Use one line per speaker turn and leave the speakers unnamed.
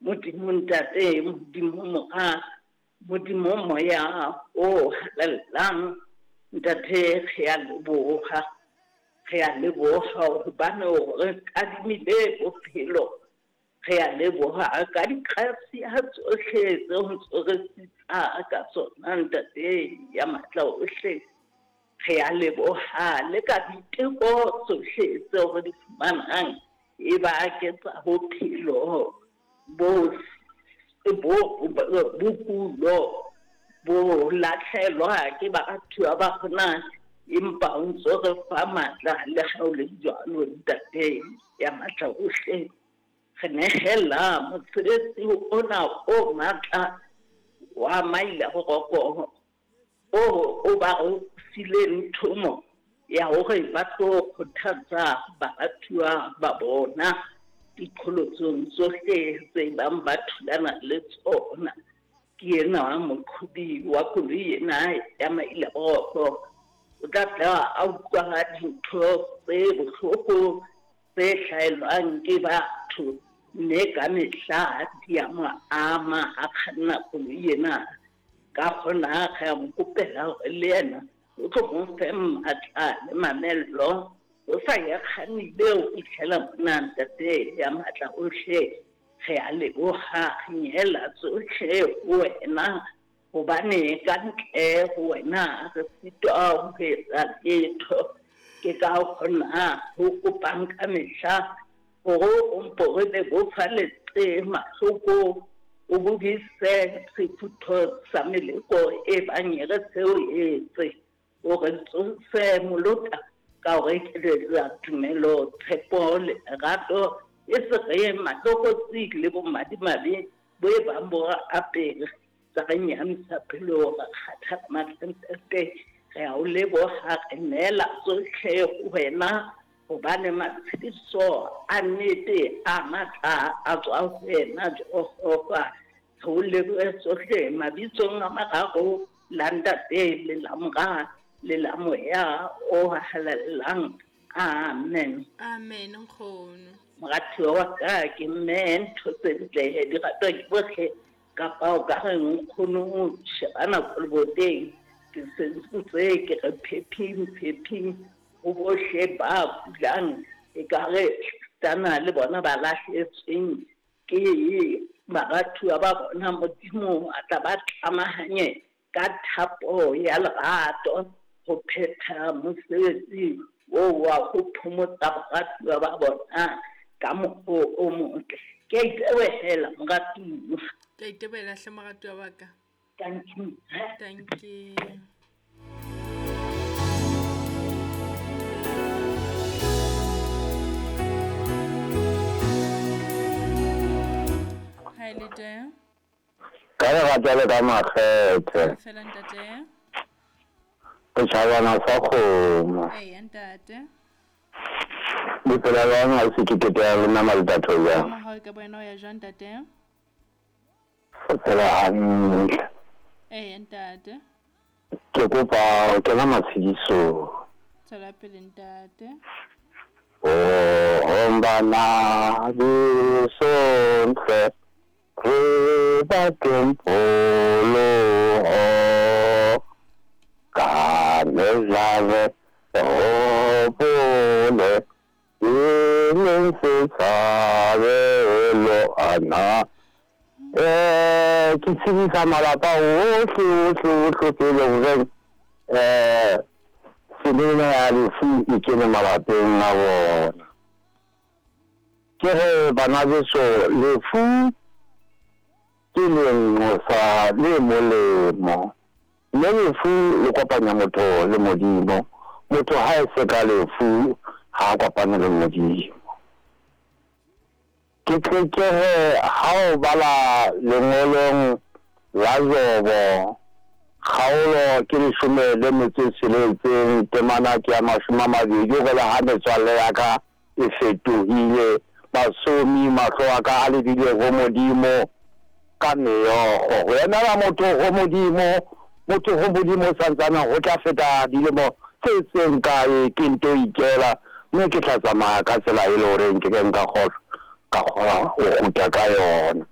Modimo Ntate, Modimo Mora, Modimo Moya o Halalelang, Ntate re a leboha. Re a leboha hobane o re kadimile bophelo. Re a leboha ka digrasia tsohle tseo ntso re sitsa ka tsona Ntate ya matla ohle. Re a leboha le ka diteko tsohle tseo re di fumanang e ba ke tsa bophelo bo bo bokulo bo latlhelwa ke baratuwa ba rona empa o ntso re fa matla le ha o le jwalo Ntate ya matla ohle. Re nehela mosebetsi ona o matla wa maila boroko o o ba fileng thomo ya hore ba tlo kgothatsa baratuwa ba bona diqholotsong tsohle tse bang ba thulana le tsona. Ke enwa moqhobi wa koloi ena ya Mailaboroko o tla tla a utlwa dintho tse bohloko tse hlahelwang ke batho mme ka mehla di a mo ama a kganna koloi ena. Ka gona re a mo kopela hore le yena o tlo mo fe matla le mamello o sa ya kgannile ho fihlela mona Ntate ya matla ohle. Re a leboha, re nyehela tsohle ho wena hobane ka ntle ho wena re sitwa ho etsa letho. Ke ka hona ho kopang ka mehla hore o mpo re bebofaletse mahloko, o bobise sefutho sa meleko e bang e re seo etse. O re tsose molota ka ho re ekeletsa tumelo, tshepo le lerato, e se re matlokotsi le bomadimabe bo e bang bo re apere tsa re nyahamisa pelo, ra kgathala matla. Ntate, re a o leboha, re neela tsohle ho wena hobane matshediso a nnete a matla a tswa ho wena Jehova. Re o lebohe tsohle mabitsong a mararo, la Ntate le la Mora le la Moya o Halalelang. Amen.
Amen nkgono.
Moratuwa wa ka ke mme ntho tse ntle di ratwa ke bohle kapa o ka re nkgono sheba nako leboteng ke sentse ke re phephing phephing ho bohle ba kulang e ka re tana le bona ba lahletsweng ke baratuwa ba bona Modimo a tla ba tlamahanye ka thapo ya lerato ho phetha mosebetsi oo wa ho phomotsa baratuwa ba bona ka mokgwa o motle. Ke a itebohela moratuwa.
Ke a itebohela hle moratuwa wa ka.
Thank you.
Thank you. Hi, le teng?
Ka lerato le ka makgethe.
Fela ntate.
Setšhabana sa kgomo.
Eya ntate.
Le phela bjang ga se ke kete ya lena Maletatho bjang?
Ka mogau ka boena o ya jwang ntate?
Re phela hantle.
Eya ntate.
Ke kopa ho kena matshedisong.
Tswela pele ntate.
Oh, bana beso ntle re batleng pholoho ka mehla re hopole e leng setshabelo ana. Eh, ke tshedisa malapa ohle ohle ohle tse leng horeng eh tseleng ya lefu e kene malapeng a bona. Ke re bana beso lefu ke lenqosa le molemo, mme lefu le kopanya motho le Modimo. Motho ha e se ka lefu ha a kopane le Modimo. Ke tle ke re ha o bala lengolong la Jobo, kgaolo ke leshome le metso e tsheletseng, temana ke ya mashome a mabedi, hore le ha metswalle ya ka e fetohile basomi, mahlo a ka a lebile ho Modimo ka meokgo. Ho emela motho ho Modimo, motho ho Modimo santsane ho tla feta dilemo tse seng kae ke nto ikela, mme ke tla tsamaya ka tsela e le horeng ke ke nka kgona ka kgona ho kgutla ka yona.